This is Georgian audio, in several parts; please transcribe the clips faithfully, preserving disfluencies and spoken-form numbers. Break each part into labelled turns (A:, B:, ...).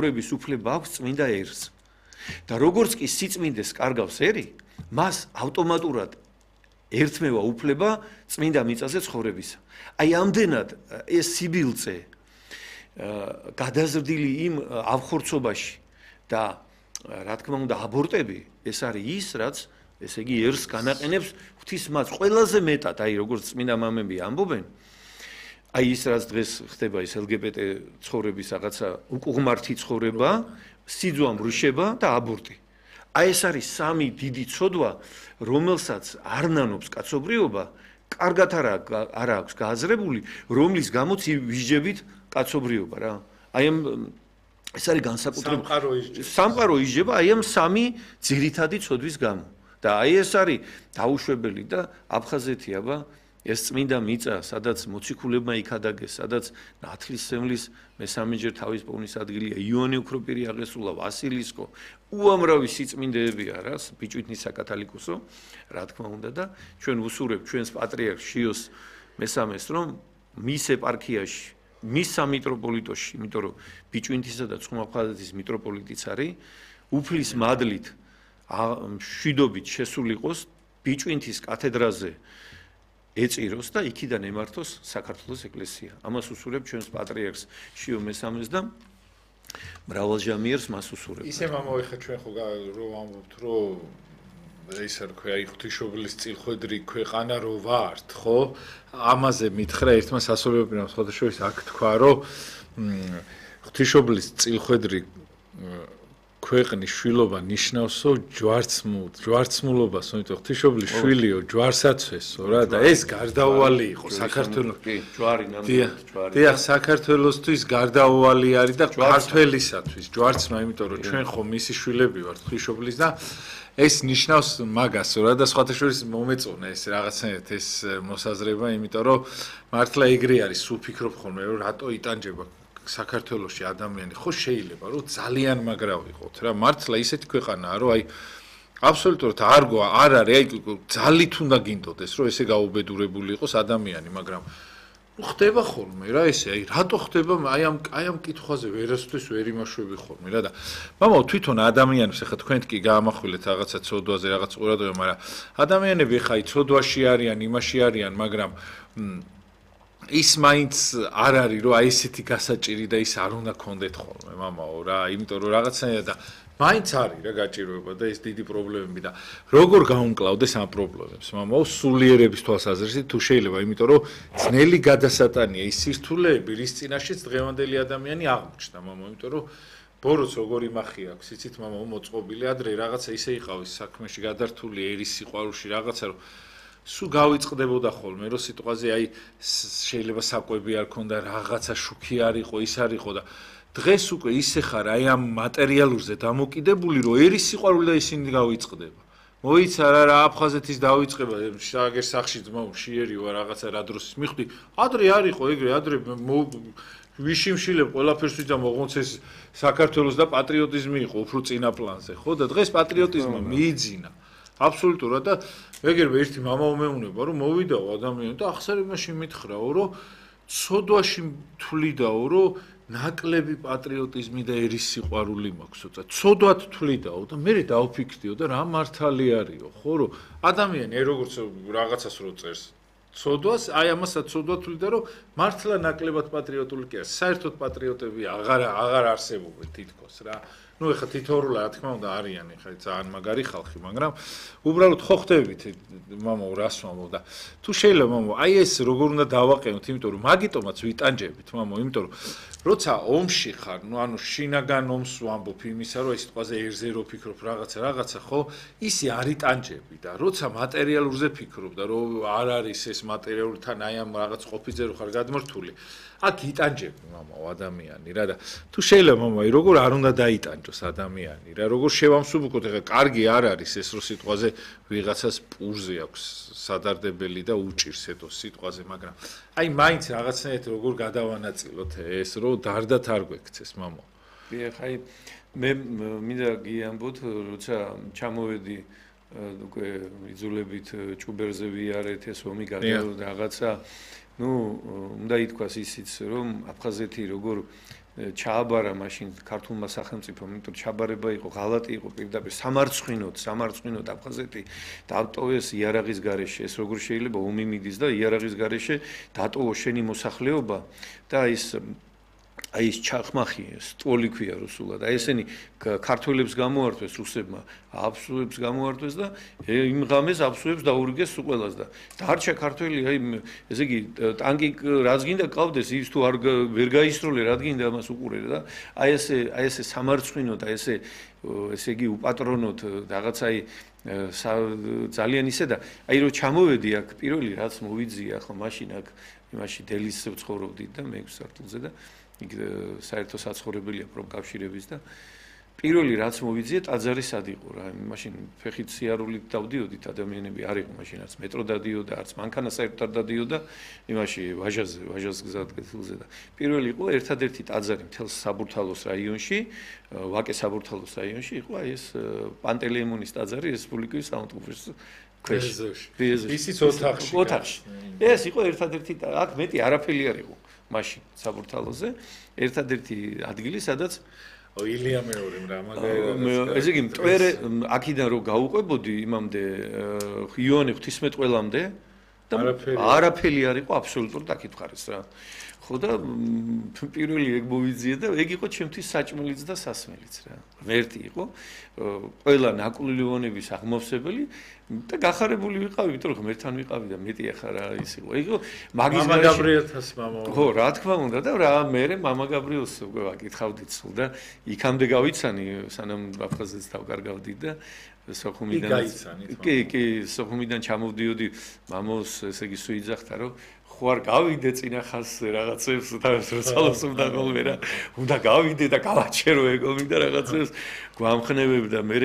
A: ცხოვრების უფლება აქვს წმინდა ერს. და როგორც კი სიწმინდეს კარგავს ერი, მას ავტომატურად ერთმევა უფლება წმინდა მიწაზე ცხოვრებისა. აი ამდენად ეს სიბილწე გადაზრდილი იმ ავხორცობაში და რა თქმა უნდა აბორტები ეს არის ის რაც ესე იგი ერს განაყენებს ღვთისმაც ყველაზე მეტად აი როგორც წმინდა მამები ამბობენ აი ის რაც დღეს ხდება ის ელ გი ბი ტე ცხოვრების რაღაცა უკუღმართი ცხოვრება სიძვა მრუშება და აბორტი აი ეს არის სამი დიდი ცოდვა რომელსაც არ ნანობს კაცობრიობა კარგად არა არა აქვს გააზრებული რომლის გამოც ვიჟებით კაცობრიობა რა აი ამ ეს არის განსაკუთრებული სამყარო ისჯება აი ამ სამი ძირითადი ცოდვის გამო და აი ეს არის დაუშვებელი და აფხაზეთი აბა ეს წმინდა მიწა სადაც მოციქულებმა იქადაგეს სადაც ნათლისმცემლის მესამეჯერ თავის პოვნის ადგილია იონი უქროპირი აღესულა ვასილისკო უამრავი სიწმინდეებია რა ბიჭვინთის საკათალიკოსო რა თქმა უნდა და ჩვენ ვუსურებთ ჩვენს პატრიარქ შიოს მესამეს რომ მის ეპარქიაში მის სამიტროპოლიტოში იმიტომ რომ ბიჭვინთისა და ცხუნაფხაზეთის მიტროპოლიტიც არის უფლის მადლით მშვიდობით შესულიყოს ბიჭვინთის კათედრაზე ეწიროს და იქიდან ემართოს საქართველოს ეკლესია. ამას უსურებ ჩვენს პატრიარქს შიო მესამეს და მრავალჟამიერს მას უსურებ.
B: ისე მამოიხა ჩვენ ხო რომ ამბობთ რომ ისე რა ქვია ღვთისმშობლის წილხვედრი ქვეყანა რო ვართ, ხო? ამაზე მითხრა ერთმა სასწორებრივ სხვადასხვა აქ თქვა რომ ღვთისმშობლის წილხვედრი ქვეყნის შვილობა ნიშნავსო ჯვარცმულ ჯვარცმულობას, იმიტომ ღვთისმშობლის შვილიო ჯვარსაცვესო რა და ეს გარდაუვალი იყო საქართველოს
A: კი ჯვარი ნამდვილად ჯვარი.
B: დიახ, საქართველოსთვის გარდაუვალი არის და ქართველისათვის ჯვარცმა, იმიტომ რომ ჩვენ ხო მისი შვილები ვართ ღვთისმშობლის და ეს ნიშნავს მაგას რა და სხვათა შორის მომეწონა ეს რაღაცნაირად ეს მოსაზრება, იმიტომ რომ მართლა ეგრე არის, სულ ფიქრობ ხოლმე რომ რატო იტანჯება საქართველოში ადამიანი ხო შეიძლება რომ ძალიან მაგრა ვიყოთ რა მართლა ისეთი ქვეყანაა რომ აი აბსოლუტურად არ გვა არ არის აი ძალით უნდა გინდოდეს რომ ესე გაუბედურებული იყოს ადამიანი მაგრამ ხდება ხოლმე რა ესე აი რატო ხდება აი ამ აი ამ კითხვაზე ვერასდროს ვერ იმაშვები ხოლმე რა და მამაო თვითონ ადამიანებს ახლა თქვენ კი გაამახვილეთ რაღაცა ცოდვაზე რაღაც ყურადღება მაგრამ ადამიანები ახლა აი ცოდვაში არიან იმაში არიან მაგრამ ის მაინც არ არის რომ აი ესეთი გასაჭირი და ის არ უნდა გქონდეთ ხოლმე მამაო რა იმიტომ რომ რაღაცნაირად და მაინც არის რა გაჭიროება და ეს დიდი პრობლემები და როგორ გაუმკლავდეს ამ პრობლემებს მამაო სულიერების თვალსაზრისით თუ შეიძლება იმიტომ რომ ძნელი გადასატანია ის სირთულეები რის წინაშეც დღევანდელი ადამიანი აღმოჩნდა მამაო იმიტომ რომ ბოროტს როგორ იმახი აქვს იცით მამაო მოწყობილი ადრე რაღაცა ისე იყავის საქმეში გადართული ერის სიყვარულში რაღაცა რომ სულ გავიწყდებოდა ხოლმე რომ სიტყვაზე აი შეიძლება საკვები არ ქონდა რაღაცა შუქი არ იყო ის არ იყო და დღეს უკვე ისე ხარ აი ამ მატერიალურზე დამოკიდებული რომ ერის სიყვარული და ისინი გავიწყდება მოიცა რა რა აფხაზეთის დავიწყება შაგერ სახში ძმაო შიერი ვარ რაღაცა რა დროს მიხვდი ადრე არ იყო ეგრე ადრე ვიშიმშილებ ყველაფერს ვიდა მოღონცეს საქართველოს და პატრიოტიზმი იყო უფრო წინა პლანზე ხო და დღეს პატრიოტიზმმა მიიძინა აბსოლუტურად და ეგრევე ერთი მამაო მეუნება რომ მოვიდაო ადამიანი და ახსარებაში მითხრაო რომ ცოდვაში თვლიდაო რომ ნაკლები პატრიოტიზმი და ერის სიყვარული მაქვსო და ცოდვად თვლიდაო და მე დავფიქრდიო და რა მართალი არისო ხო რომ ადამიანი აი როგორც რაღაცას რო წერს ცოდვას აი ამასაც ცოდვად თვლიდა რომ მართლა ნაკლებად პატრიოტული კი არის საერთოდ პატრიოტები აღარ აღარ არსებობენ თითქოს რა ну ეხა თითოეულა რა თქმა უნდა არიან ეხა ძალიან მაგარი ხალხი მაგრამ უბრალოდ ხო ხდებით მამაო რას ვამბობ და თუ შეიძლება მამაო აი ეს როგორ უნდა დავაყენოთ იმიტომ რომ მაგიტომაც ვიტანჯებით მამაო იმიტომ რომ როცა ომში ხარ ну ანუ შინაგან ომს ვამბობ იმისა რომ ეს სიტყვაზე ერზე რო ფიქრობ რაღაცა რაღაცა ხო ისი არ იტანჯები და როცა მატერიალურზე ფიქრობ და რომ არ არის ეს მატერიალურთან აი ამ რაღაც ყოფიზე რო ხარ გადმორთული აქ იტანჯები მამაო ადამიანი რა და თუ შეიძლება მამაო როგორ არ უნდა დაიტანჯოს ადამიანი რა როგორ შევამსუბუქოთ ეხა კარგი არ არის ეს რო სიტყვაზე ვიღაცას პურზე აქვს სადარდებელი და უჭირს ეთო სიტყვაზე მაგრამ აი მაინც რაღაცნაირად როგორ გადავანაწილოთ ეს რო დარდათ არ გვექცეს მამაო
A: კი ეხა აი მე მინდა გიამბოთ როცა ჩამოვედი უკვე იძულებით ჭუბერზე ვიარეთ ეს ომი გადავა რაღაცა ну უნდა ითქვას ისიც რომ აფხაზეთი როგორ ჩააბარა მაშინ ქართულმა სახელმწიფომ, იმიტომ ჩაბარება იყო, ღალატი იყო პირდაპირ სამარცხვინოდ, სამარცხვინოდ აფხაზეთი დაატოვეს იარაღის გარეშე. ეს როგორ შეიძლება ომი მიდის და იარაღის გარეშე დატოვო შენი მოსახლეობა და ის აი ეს ჩახმახი, სტოლი ქვია რუსულად. აი ესენი ქართველებს გამოართვეს რუსებმა, აბსუებს გამოართვეს და იმ ღამეს აბსუებს დაურიგეს უყველას და დარჩა ქართველი, აი ესე იგი ტანკი რაც გინდა ყავდეს, ის თუ არ ვერ გაისროლე, რა გინდა ამას უყურე და აი ესე აი ესე სამარცხვინოდ, აი ესე ესე იგი უპატრონოდ რაღაცა აი ძალიან ისე და აი რომ ჩამოვედი აქ პირველი რაც მოვიძია ხო მაშინ აქ იმაში დელის ვცხოვრობდი და მეექვსე სართულზე და იქ საერთო საცხოვრებელია პროფკავშირების და პირველი რაც მოვიძიე ტაძარი სად იყო რა მაშინ ფეხით სიარულით დავდიოდით ადამიანები არ იყო მაშინ არც მეტრო დადიოდა არც მანქანა საერთოდ არ დადიოდა იმაში ვაჟაზე ვაჟას გზატკეცილზე და პირველი იყო ერთადერთი ტაძარი მთელ საბურთალოს რაიონში ვაკე საბურთალოს რაიონში იყო აი ეს პანტელეიმონის ტაძარი რესპუბლიკის საავტომობილოს ქვეშ
B: ისიც ოთახში
A: ოთახში ეს იყო ერთადერთი აქ მეტი არაფერი არ იყო მაშინ საბურთალოზე ერთადერთი ადგილი სადაც
B: ილია მეორე რა მაგალითად
A: ესე იგი მტვერე აქიდან რო გაუყვებოდი იმამდე იოანე ღვთისმეტყველამდე და არაფერი არ იყო აბსოლუტურად დაკითხარეს რა ხო და პირველი ეგ მოვიძიე და ეგ იყო ჩემთვის საჭმელიც და სასმელიც რა ღმერთი იყო ყველა ნაკვლილიონების აღმავსებელი და გახარებული ვიყავი იმიტომ რომ ღმერთთან ვიყავი და მეტი ახლა რა ის იყო ეგ იყო მაგის
B: მამა გაბრიელთას მამა
A: ხო რა თქმა უნდა და რა მე მამა გაბრიელს უკვე ვაკითხავდით სულ და იქამდე გავიცანი სანამ აფხაზეთს დავკარგავდი და სოხუმიდან კი კი სოხუმიდან ჩამოვდიოდი მამოს ესე იგი სუიძახთა რომ ხო არ გავიდე წინა ხაზზე რაღაცებს და როცალოს უნდა ხოლმე რა უნდა გავიდე და გავაჩერო ეგო მინდა რაღაცებს გვამხნევებდა მე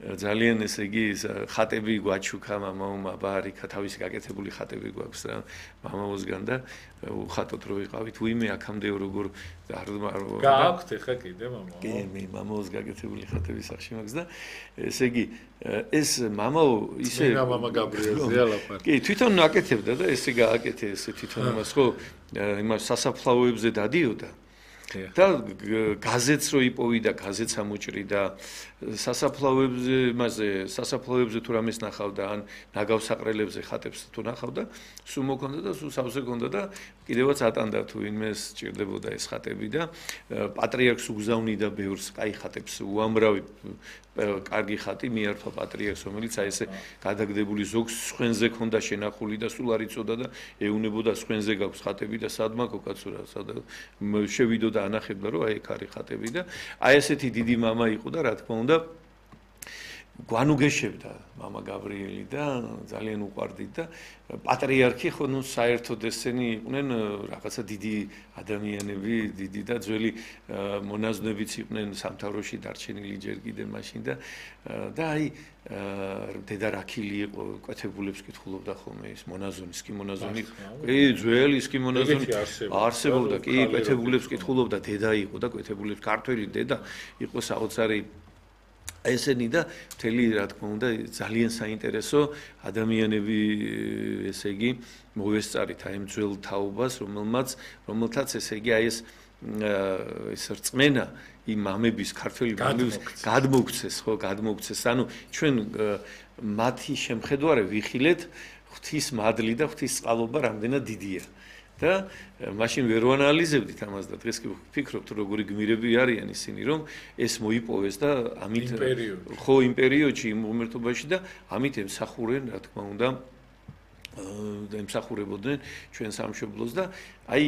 A: ძალიან ესე იგი ხატები გვაჩუქა მამაო ბარიკა თავისი გაკეთებული ხატები გვაქვს რა მამაოსგან და უხატოთ რო ვიყავით უიმე აქამდე როგორ არ
B: გააქვთ ხა კიდე მამაო
A: კი მე მამაოს გაკეთებული ხატები სახში მაქვს და ესე იგი ეს მამაო ისე
B: მამა გაბრიელზეა ლაპარაკი
A: კი თვითონ აკეთებდა და ესე გააკეთე ესე თვითონ იმას ხო იმას სასაფლაოებზე დადიოდა და გაზეთს რო იპოვიდა გაზეთს ამოჭრიდა სასაფლაოებზე მასე სასაფლაოებზე თუ რამეს ნახავდა ან ნაგავსაყრელებზე ხატებს თუ ნახავდა სულ მოქონდა და სულ სავსე ქონდა და კიდევაც ატანდა თუ ინმეს ჭირდებოდა ეს ხატები და პატრიარქს უგზავნიდა ბევრს კაი ხატებს უამრავი კარგი ხატი მიართვა პატრიარქს რომელიც აი ესე გადაგდებული ზოგს სხვენზე ქონდა შენახული და სულ არ იწოდა და ეუნებოდა სხვენზე გაქვს ხატები და სადმა კოკაცურა სადა შევიდო და ანახებდა რომ აი ეგ არის ხატები და აი ესეთი დიდი მამა იყო და რა თქმა უნდა გვანუგეშებდა მამა გაბრიელი და ძალიან უყვარდით და პატრიარქი ხო ნუ საერთოდ ესენი იყვნენ რაღაცა დიდი ადამიანები დიდი და ძველი მონაზვნებიც იყვნენ სამთავროში დარჩენილი ჯერ კიდე მაშინ და და აი დედა რაქილი იყო კვეთებულებს კითხულობდა ხოლმე ის მონაზონის კი მონაზონი კი ძველი ის კი მონაზონი არსებობდა კი კვეთებულებს კითხულობდა დედა იყო და კვეთებულებს ქართველი დედა იყო საოცარი ესენი და მთელი რა თქმა უნდა ძალიან საინტერესო ადამიანები ესე იგი მოესწარით აი ამ ძველ თაობას რომელმაც რომელთაც ესე იგი აი ეს ეს რწმენა იმ მამების ქართველი მამების გადმოგცეს ხო გადმოგცეს ანუ ჩვენ მათი შემხედვარე ვიხილეთ ღვთის მადლი და ღვთის წყალობა რამდენად დიდია და მაშინ ვერ ვანალიზებდით ამას და დღეს კი ვფიქრობთ როგორი გმირები არიან ისინი რომ ეს მოიპოვეს და ამით ხო იმ პერიოდში იმ უმერთობაში და ამით ემსახურენ რა თქმა უნდა და ემსახურებოდნენ ჩვენ სამშობლოს და აი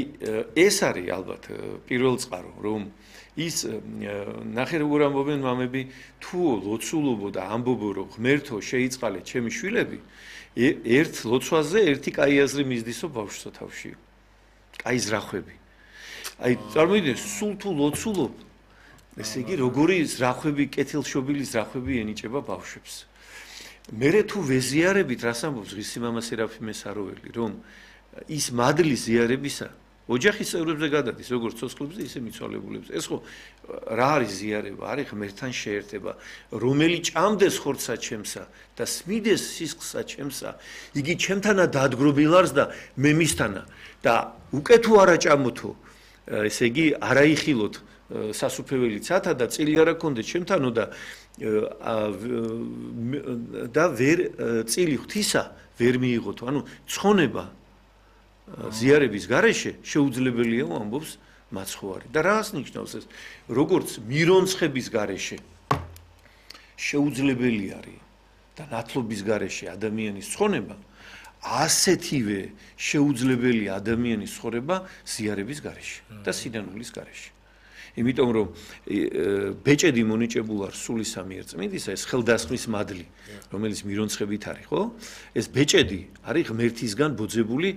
A: ეს არის ალბათ პირველ წყარო რომ ის ნახე როგორ ამბობენ მამები თუ ლოცულობო და ამბობო რომ ღმერთო შეიწყალე ჩემი შვილები ერთ ლოცვაზე ერთი კაი აზრი მისდისო ბავშვსა თავში აი ზრახვები. აი წარმოიდგინე სულ თუ ლოცულობ ესე იგი როგორი ზრახვები კეთილშობილი ზრახვები ენიჭება ბავშვებს. მერე თუ ვეზიარებით რას ამბობს ღირსი მამა სერაფიმე საროველი რომ ის მადლი ზიარებისა ოჯახის წევრებზე გადადის როგორც ცოცხლებზე ისე მიცვალებულებზე. ეს ხო რა არის ზიარება? არის ღმერთთან შეერთება, რომელი ჭამდეს ხორცსა ჩემსა და სმიდეს სისხლსა ჩემსა, იგი ჩემთანა დადგრობილარს და მე მისთანა და უკვე თუ არა ჭამოთო ესე იგი არაიხილოთ სასუფეველი ცათა და წილი არ აქონდეთ ჩემთანო და და ვერ წილი ღვთისა ვერ მიიღოთ. ანუ ცხონება ზიარების გარეშე შეუძლებელია ამბობს მაცხოვარი. და რას ნიშნავს ეს? როგორც მირონცხების გარეშე შეუძლებელი არის და ნათლობის გარეშე ადამიანის ცხონება, ასეთივე შეუძლებელია ადამიანის ცხოვრება ზიარების გარეშე და სინანულის გარეშე. იმიტომ რომ ბეჭედი მონიჭებულ არ სულისა მიერ წმინდისა ეს ხელდასხმის მადლი, რომელიც მირონცხებით არის, ხო? ეს ბეჭედი არის ღმერთისგან ბოძებული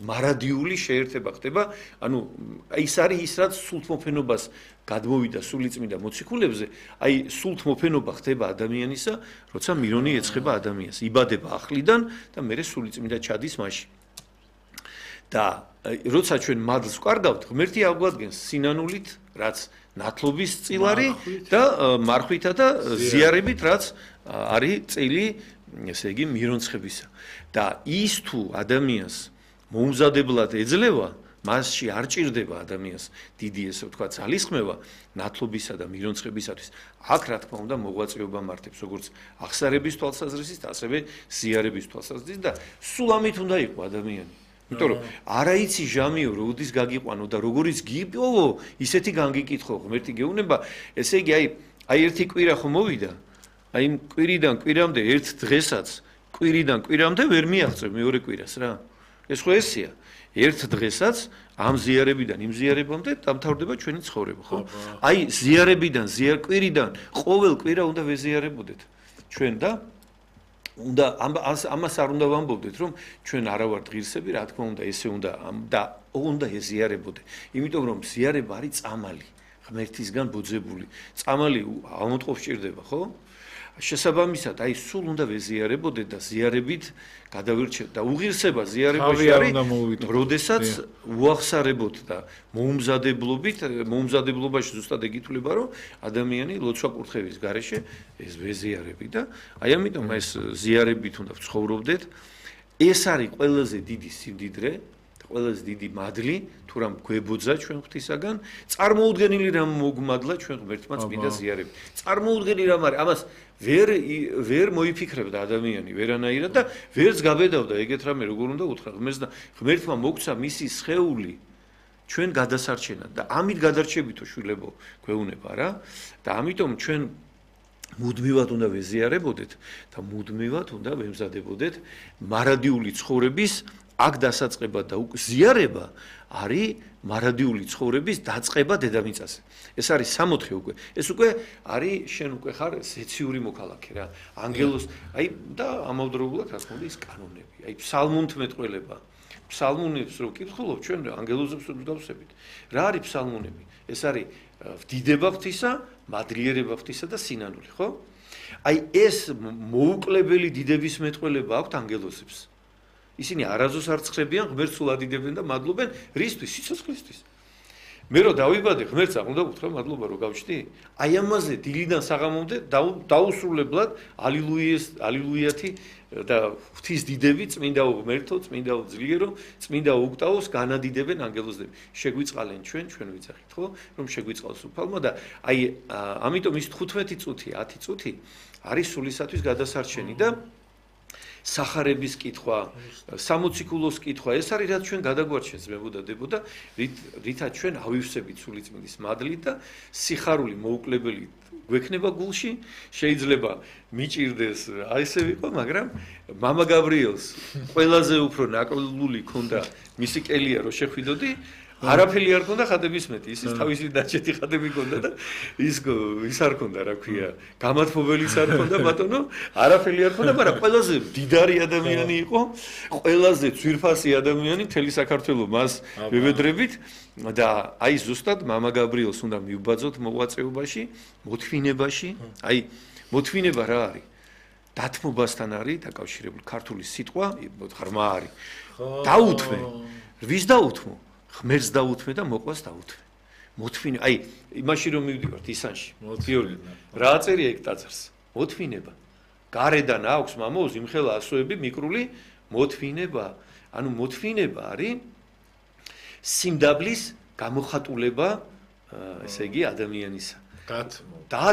A: მარადიული შეერთება ხდება, ანუ ის არის ის რაც სულთმოფენობას გადმოვიდა სულიწმინდა მოციქულებზე, აი სულთმოფენობა ხდება ადამიანისა, როცა მირონი ეცხება ადამიანს, იბადება ახლიდან და მერე სულიწმინდა ჩადის მასში. და როცა ჩვენ მადლს ვკარგავთ, ღმერთი აგვადგენს სინანულით, რაც ნათლობის წილარი და მარხვითა და ზიარებით, რაც არის წილი, ესე იგი მირონცხებისა. და ის თუ ადამიანს მოუმზადებლად ეძლევა, მასში არ ჭირდება ადამიანს დიდი ესე ვთქვათ ძალისხმევა ნათლობისა და მირონცხებისათვის. აქ რა თქმა უნდა მოღვაწეობა მართებს, როგორც აღსარების თვალსაზრისით, ასევე ზიარების თვალსაზრისით და სულ ამით უნდა იყო ადამიანი. იმიტომ რომ არაიცი ჟამიო როდის გაგიყვანო და როგორიც გიპოვო, ისეთი განგიკითხო ღმერთი გეუბნება, ესე იგი აი აი ერთი კვირა ხო მოვიდა, აი კვირიდან კვირამდე ერთ დღესაც კვირიდან კვირამდე ვერ მიაღწევ მეორე კვირას რა. ეს ხო ესეა. ერთ დღესაც ამ ზიარებიდან იმ ზიარებამდე დამთავრდება ჩვენი ცხოვრება, ხო? აი ზიარებიდან ზიარ კვირიდან ყოველ კვირა უნდა ვეზიარებოდეთ ჩვენ და უნდა ამას არ უნდა ვამბობდეთ, რომ ჩვენ არა ვართ ღირსები, რა თქმა უნდა, ესე უნდა და უნდა ეზიარებოდე. იმიტომ რომ ზიარება არის წამალი, ღმერთისგან ბოძებული. წამალი ამოტყობს ჭირდება, ხო? შესაბამისად, აი სულ უნდა ვეზიარებოდეთ და ზიარებით გადავირჩევთ და უღირსება ზიარებაში არის, როდესაც უახსარებოთ და მოუმზადებლობით, მოუმზადებლობაში ზუსტად ეგ ითვლება, რომ ადამიანი ლოცვა კურთხევის გარეშე ეს ვეზიარები და აი ამიტომ ეს ზიარებით უნდა ვცხოვრობდეთ. ეს არის ყველაზე დიდი სიმდიდრე, ყველაზე დიდი მადლი, თუ რამ გვებოძა ჩვენ ღვთისაგან, წარმოუდგენელი რამ მოგმადლა ჩვენ ღმერთმა წმინდა ზიარებით. წარმოუდგენელი რამ არის, ამას ვერ ვერ მოიფიქრებდა ადამიანი ვერანაირად და ვერც გაბედავდა ეგეთ რამე როგორ უნდა უთხრა ღმერთს და ღმერთმა მოგცა მისი სხეული ჩვენ გადასარჩენად და ამით გადარჩებითო შვილებო გვეუბნება რა და ამიტომ ჩვენ მუდმივად უნდა ვეზიარებოდეთ და მუდმივად უნდა ვემზადებოდეთ მარადიული ცხოვრების აქ დასაწყება და ზიარება არის მარადიული ცხოვრების დაწყება დედამიწაზე. ეს არის სამოთხე უკვე. ეს უკვე არის შენ უკვე ხარ ზეციური მოქალაქე რა. ანგელოს აი და ამავდროულად რა თქმა უნდა ის კანონები. აი ფსალმუნთმეტყველება. ფსალმუნებს რო კითხულობ ჩვენ ანგელოზებს რო დავსებით. რა არის ფსალმუნები? ეს არის ვდიდება ღვთისა, მადლიერება ღვთისა და სინანული, ხო? აი ეს მოუკლებელი დიდების მეტყველება აქვთ ანგელოზებს. ისინი არაზოს არ ცხრებიან, ღმერთს ულადიდებენ და მადლობენ რისთვის? სიცოცხლისთვის. მე რო დავიბადე, ღმერთს არ უნდა გითხრა მადლობა რო გავჩდი? აი ამაზე დილიდან საღამომდე დაუსრულებლად ალილუიეს, ალილუიათი და ღვთის დიდები, წმინდა ღმერთო, წმინდა ძლიერო, წმინდა უქტაოს განადიდებენ ანგელოზები. შეგვიწყალენ ჩვენ, ჩვენ ვიცახით, ხო? რომ შეგვიწყალს უფალმა და აი ამიტომ ის თხუთმეტი წუთი, ათი წუთი არის სულისათვის გადასარჩენი და სახარების კითხვა, სამოციქულოს კითხვა, ეს არის რაც ჩვენ გადაგვარჩენს მებოდა დებოდა, რითაც ჩვენ ავივსებით სულიწმინდის მადლით და სიხარული მოუკლებელი გვექნება გულში, შეიძლება მიჭირდეს, აი ესე ვიყო, მაგრამ მამა გაბრიელს ყველაზე უფრო ნაკლული ქონდა მისი კელია რო შეხვიდოდი, არაფერი არ ქონდა ხადების მეტი, ის თავისი დაჭეთი ხადები ქონდა და ის ის არ ქონდა, რა ქვია, გამათბობელიც არ ქონდა ბატონო, არაფერი არ ქონდა, მაგრამ ყველაზე დიდარი ადამიანი იყო, ყველაზე ძვირფასი ადამიანი მთელი საქართველოს მას ვებედრებით და აი ზუსტად მამა გაბრიელს უნდა მიუბაძოთ მოღვაწეობაში, მოთმინებაში, აი მოთმინება რა არის? დათმობასთან არის დაკავშირებული ქართული სიტყვა, ღრმა არის. დაუთმე. ვის დაუთმო? ღმერთს დაუთმე და მოყვას დაუთმე. მოთმინე, აი, იმაში რომ მივდივართ ისანში. გიორგი, რა აწერია ეგ ტაძარს? მოთმინება. გარედან აქვს მამოუს იმხელა ასოები მიკრული მოთმინება. ანუ მოთმინება არის სიმდაბლის გამოხატულება, ესე იგი ადამიანისა.
B: დათმო.
A: და